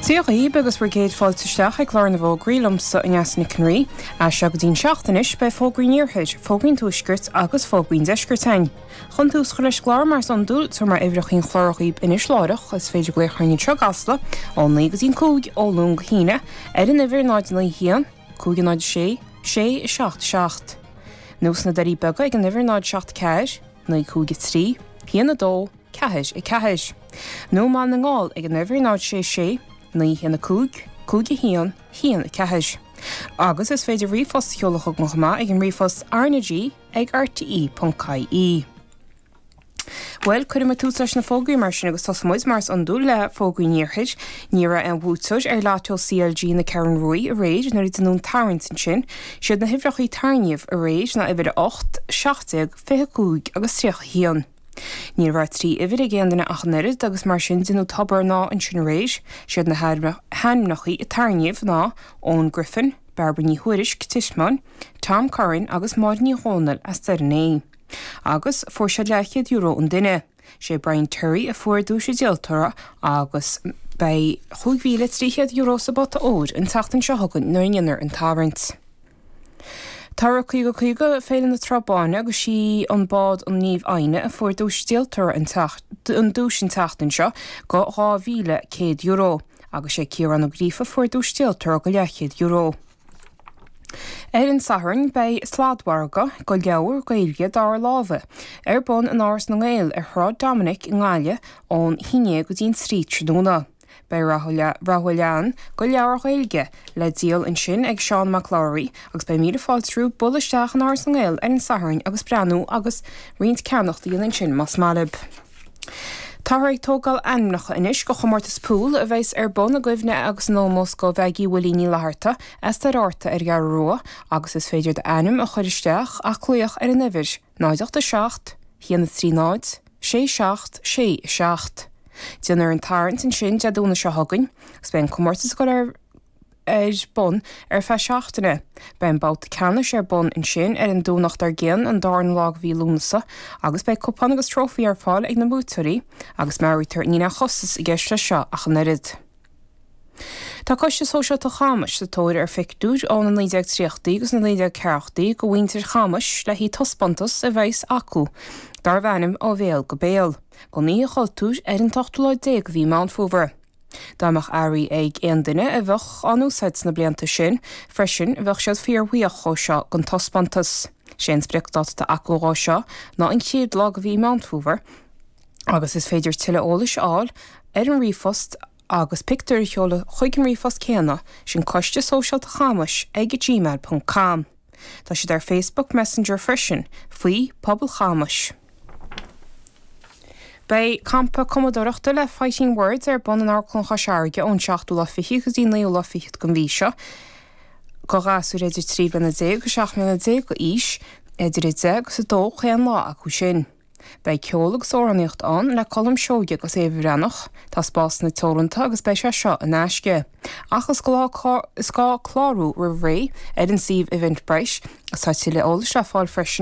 Dia dhaoib agus bhur gcéad fáilte isteach ag clár na bhfógraí liomsa Neasa Nic an Rí. As seo go dtí'n seacht anois beidh fógraí an Iarthair, fógraí an Tuaiscirt agus fógraí an Deiscirt againn. Chun tús a chur leis an gclár mar is iondúil, tabharfaidh mé uimhreacha an chláir dhaoib anois láithreach, is féidir glaoch orainn anseo i gCasla ó 9 go dtí'n 5 ó Luan go hAoine ar an uimhir 0 9 1 5 0 6 6 7 7 nó sna Doirí Beaga ag an uimhir 0 7 4 9 5 3 1 2 4 4 nó i mBaile na nGall ag an uimhir 0 6 6 9 1 5 5 1 1 4. Agus is féidir ríomhphost a sheoladh chugainn chomh maith ag an ríomhphost rnag ag rte.ie. Bhuel, cuirfidh muid tús leis na fógraí mar sin agus tosóidh muid, mar is iondúil, le fógraí an Iarthair. Ní raibh aon bhuaiteoir ar Lotto CLG na Ceathrún Ruaidh aréir nuair a deineadh an tarraingt ansin. Siad na huimhreacha a tarraingíodh aréir ná uimhir 8, 17, 25 agus 31. Ní raibh 3 uimhir ag aon duine ach an oiread agus mar sin deineadh tobar an ádha ansin aréir. Siad na hainmneacha a tarraingíodh ná Eoin Griffin, Bairbre Ní Thuairisg, Titman, Tom Curran agus Máire Ní Dhomhnaill as Doire an Fhéich. Agus fuair siad leathchéad euro an duine. Sé Brian Terry a fuair duais an díoltóra agus beidh €5,300 sa bpota óir an tseachtain seo chugainn nuair a dhéanfar an tarraingt. Tá Rith 50 50 Féile na Trá Báine agus sí an bád an Naomh Adhna a fuair duais díoltóra an an duais an tseachtain seo go €2,100 agus sé Ciarán Ó Gríofa a fuair duais díoltóra go leathchéad euro. Ar an Satharn beidh sladmhargadh go leabhair Gaeilge dara láimhe ar bun in Áras na nGael ar Shráid Dominic i nGaillimh ón haon déag go dtí'n 3 tráthnóna. Beidh rogha leathan go leabhair Ghaeilge le díol ansin ag Seán Mac Labhraí agus beidh míle fáilte romhaibh bualadh isteach in Áras na nGael ar an Satharn agus breathnú agus roinnt ceannacht a dhéanamh ansin más maith libh. Táthar ag tógáil ainmneacha anois go chomórtas pool a bheas ar bun i gcuimhne agus in ómós go Mheaigí Willie Ní Fhlatharta as Doire Fhatharta ar an gCeathrú Rua agus is féidir d'ainm a chur isteach ach glaoch ar an uimhir 0 8 7 1 3 0 6 7 6 7. Déanfar an tarraingt ansin Dé Domhnaigh seo chugainn agus beidh an comórtas ag dul ar ar bun ar feadh seachtaine. Beidh an babhta ceannais ar bun ansin ar an Domhnach dár gcionn, an darna lá de mhí Lúnasa, agus beidh cupán agus trófaí ar fáil ag na buaiteoirí agus meabhraítear níl aon chostas i gceist leis seo ach an oiread. Tá Coiste Sóisialta Chamais sa tóir ar phictiúir ó na 1930idí agus na 1940idí de mhuintir Chamais le haghaidh taispeántas a bheas acu darbh ainm Ó Bhéal go Béal, don Oíche Chultúir ar an t-ochtú lá déag de mhí Meán Fómhair. Dá mbeadh earraí ag aon duine a bheadh á n-úsáid sna blianta sin freisin bheadh siad fíorbhuíoch dhó seo don taispeántas. Sé an spriocdáta atá acu dhó seo ná an chéad lá de mhí Meán Fómhair agus is féidir tuilleadh eolais a fháil ar an ríomhphost agus pictiúir a sheoladh chuig an ríomhphost céanna, sin Coiste Sóisialta Chamais ag gmail ponc com. Tá siad ar Facebook Messenger freisin faoi Pobal Chamais. Beidh campa cumadóireachta le Fighting Words ar bun in Amharclann Chois Fharraige ón seachtú lá fichead go dtí an naoú lá fichead den mhí seo do ghasúir idir 13 bliana agus 17 mbliana d'aois, idir 10 agus 2 chaon lá acu sin. Beidh ceol agus amhránaíocht ann le Colm Seoighe agus Éabha Bhreathnach. Tá spásanna teoranta agus beidh sé seo in aisce. Ach is gá clárú roimh ré ar an suíomh Eventbrite agus tá tuilleadh eolais le fáil freisin.